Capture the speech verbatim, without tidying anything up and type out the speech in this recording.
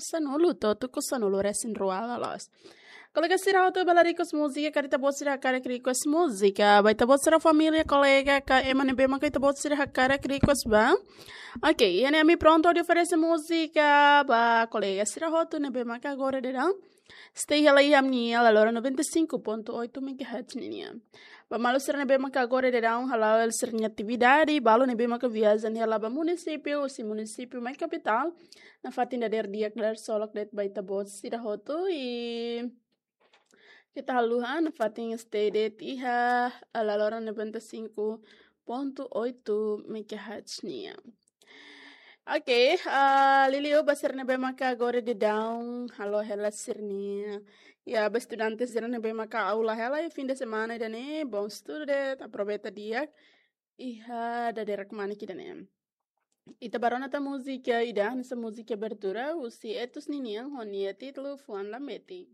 sanulu to'o tuku sanulu resin rua loloos. Kolega sira hotu bele request múzika, karik ita-boot sira hakarak request múzika ba ita-boot sira família, kolega ka ema ne'ebé maka ita-boot sira hakarak request ba. Ok, iha ne'e ami prontu hodi oferese múzika ba kolega sira hotu ne'ebé maka agora daudaun stay hela iha ami-nia Lalora noventa e cinco ponto oito megahertz nian. Ba maluk sira ne'ebé maka agora daudaun hala'o sira-nia atividade, balu ne'ebé maka viajen hela ba munisípiu, husi munisípiu mai kapitál, nafatin dadeer di'ak, dadeer solok de'it ba ita-boot sira hotu, i keta haluha nafatin stay de'it iha Lalora noventa e cinco ponto oito megahertz nian. Ok, ah, liuliu ba sira ne'ebé maka agora daudaun halo hela sira-nia, iha ba estudante sira ne'ebé maka aula hela iha fim de semana ida-ne'e, bom estudu de'it, aproveita di'ak iha dadeer kmanek ida-ne'e. Ita bá rona tan múzika ida, hanesan múzika abertura husi Etus ninian ho nia títulu Fuan Lameti.